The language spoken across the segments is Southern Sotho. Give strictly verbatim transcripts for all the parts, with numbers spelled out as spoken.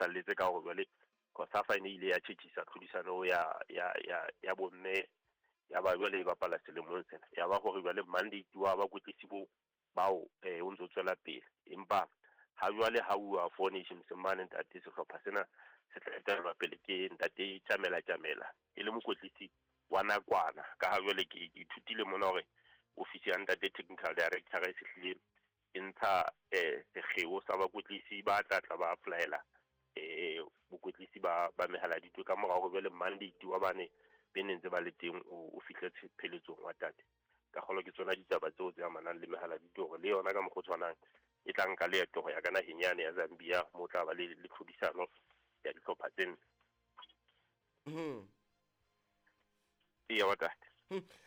salletse ka hore jwale COSAFA e ne ile ya tjhetjhisa tlhodisano ya ya ya ya bomme ya ba jwale e bapala selemong sena. Ya ba hore jwale mandate wa bakwetlisi bo bao eh o ntso tswela pele. Empa ha jwale ha uwa Four Nations mane ntate, sehlopha sena se tla etellwa pele ke ntate Tjamela Tjamela e le mokwetlisi wa nakwana. Ka ha jwale ke ithutile mona hore ofisi ya ntate technical director e sehlile e ntsha eh sekgeo sa bakwetlisi ba tla tla ba applyela eh bokwetlisi ba ba mehaladitwe ka morao hore jwale mandate wa bane be ne ntse ba le teng o fihle pheletsong wa tate. Ka kgolo ke tsona ditaba tseo tse amanang le mehaladitwe hore le yona ka mokgwa o tshwanang e tla nka leeto ho ya ka naheng yane ya Zambia mo tla ba le le tlhodisano ya dihlopha tse nne. Mhm. Eya wa tate.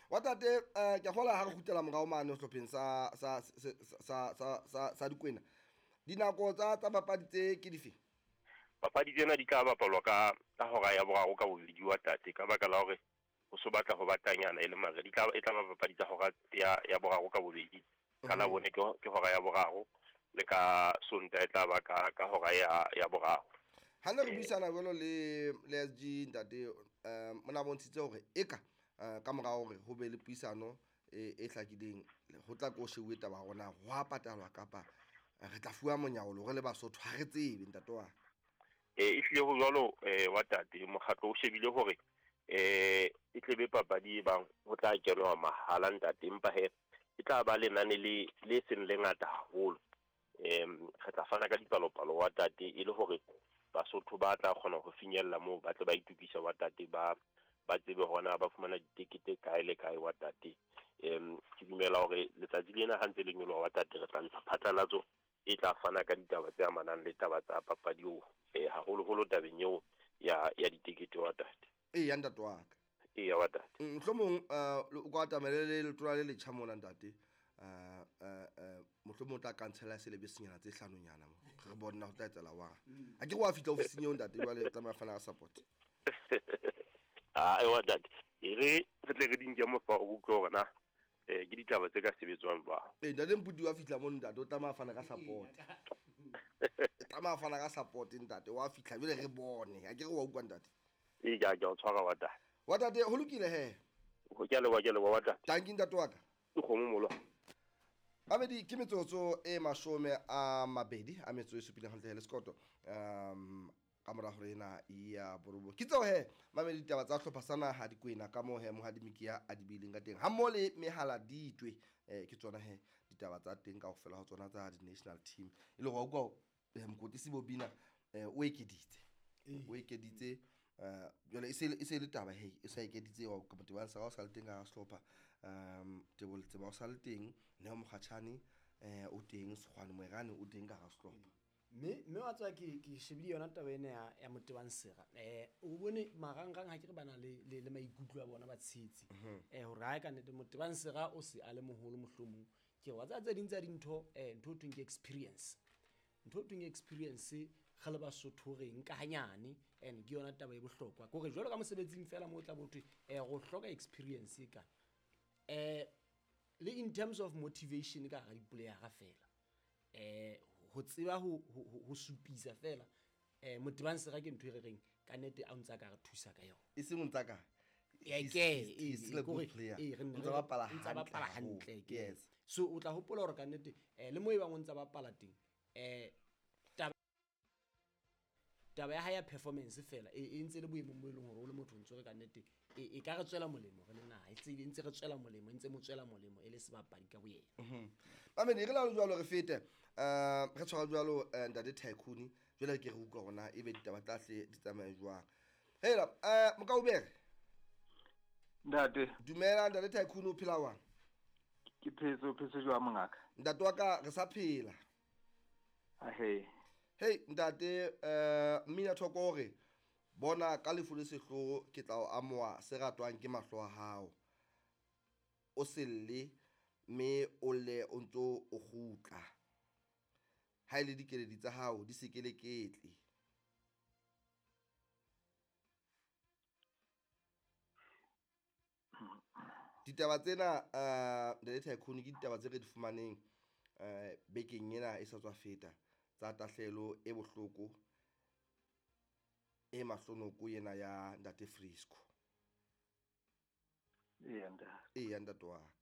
Wa tate eh ke kgola ha re kgutlela morao mane sehlopheng sa sa sa sa sa sa Dikwena. Dinako tsa tsa papadi tse ke dife? Papadi tsena di tla bapalwa ka ka hora ya boraro ka bobedi wa tate, ka baka la hore ho so batla ho batanyana e le mare di tla e tla ba papadi tsa hora ya ya boraro ka bobedi. Ka la bone ke ke hora ya boraro le ka Sontaha e tla ba ka ka hora ya ya boraro. Ha ne re buisana jwalo le le S G ntate, eh mona bontshitse hore eka ka mora hore ho be le puisano e e hlakileng ho tla ko shebuwe taba ya rona ho a patalwa kapa re tla fuwa monyaolo re le Basotho ha re tsebe ntate wa. Eh e hlile ho jwalo eh wa tate, mokgatlo o shebile hore eh e tlebe papadi e bang ho tla kenwa mahala ntate, empa he e tla ba lenane le le seng le ngata haholo. Em re tla fana ka dipalopalo wa tate e le hore Basotho ba tla kgona ho finyella moo ba tle ba itukisa wa tate, ba ba tsebe hona ba fumana ditekete kae le kae wa tate. Em ke dumela hore letsatsi lena ha ntse le nyoloha wa tate re tla ntsha phatlalatso e tla fana ka ditaba tse amanang le taba tsa papadi eo, eh haholoholo tabeng eo ya ya ditekete wa tate. Eya ntate wa ka. Eya wa tate. Mohlomong o ka atamele le letona le letjha mona ntate. Eh eh mohlomong o tla kantshela selebesenyana tse hlanonyana mo. Re bona ho tla etsela wa. Ha ke re wa fihla ofising eo ntate jwale tsamaya fana ka support. Ah ewa ntate. E re re tle re di nke mo fa o utlwe hore na eh ke ditaba tse ka sebetswang jwang. Eh ntate Mpudi wa fihla mo ntate o tsamaya fana ka support. Tsamaya fana ka support ntate wa fihla jwale re bone. Ha ke re wa utlwa ntate. E ja ja o tshwara wa tate. Wa tate ho lokile he. Ho ke a leboha, ke a leboha wa tate. Tanki ntate wa ka. Ke kgomo molo. Babedi ke metsotso e mashome a mabedi a metso e supileng hantle le sekoto. Um ka mora hore ena ya borobo. Ke tseo he mamedi ditaba tsa hlopha sa naha Dikwena ka moo he Mohadi Mikia a di bileng ka teng. Ha mmoho le mehala ditwe eh ke tsona he ditaba tsa teng kaofela ho tsona tsa di national team. E le hore wa utlwa mokotisi Bobina o ekeditse. O ekeditse eh jwale e se e se le taba he e sa ekeditse wa ka motho sa o sa le teng ka sehlopha um Teboho Letsema o sa le teng, Neo Mokgatjhane eh o teng, Sekgwane Moerane o teng ka sehlopha. Mme mme wa tswa ke ke shebile yona taba ena ya ya Motebang Sera. Eh o bone marangrang ha ke re bana le le le maikutlo a bona ba tshetsi. Eh hore ha ka nnete Motebang Sera o se a le moholo mohlomong. Ke wa tsa tse ding tsa dintho eh ntho thweng ke experience. Ntho thweng experience re le Basotho re nka hanyane and ke yona taba e bohlokwa. Ke hore jwalo ka mosebetsing fela mo tla bothwe eh go hloka experience ka. Eh le in terms of motivation ka ga di-player fela. Eh ho tseba ho ho supisa fela eh Motebang Sera ke ntho e re reng ka nnete a ntsa ka re thusa ka yona. E seng ntsa ka. E ke e still a good player. E re ntsa bapala ntsa bapala hantle ke. Yes. So o tla hopola hore ka nnete eh le mo e bang o ntsa bapala teng eh taba ya higher performance fela e ntse le boemong bo e leng hore o le motho ntse re ka nnete e ka re tswela molemo re le naha e ntse re tswela molemo ntse mo tswela molemo e le sebapadi ka boyena. Mhm. Mamedi re la jwalo re fete eh re tshwara jwalo ntate Tycoon jwale ke re utlwa rona e be ditaba tlahle di tsamaye jwang. Hela eh Mokaubere. Ntate. Dumela ntate Tycoon o phela wang? Ke phetse o phetse jwang mongaka? Ntate wa ka re sa phela. Ahe. Hey ntate eh mina thoko hore bona ka lefu le sehloho ke tla o amoha se ratwang ke mahlo a hao. O selle mme o le o ntso o kgutla. Ha ile dikeledi tsa hao di se keleketle. Ditaba tsena eh ntate Tycoon ke ditaba tse re di fumaneng eh bekeng ena e sa tswa feta tsa tahlelo e bohloko e mahlonoko ena ya ntate Frisco. Eya ntate. Eya ntate wa ka.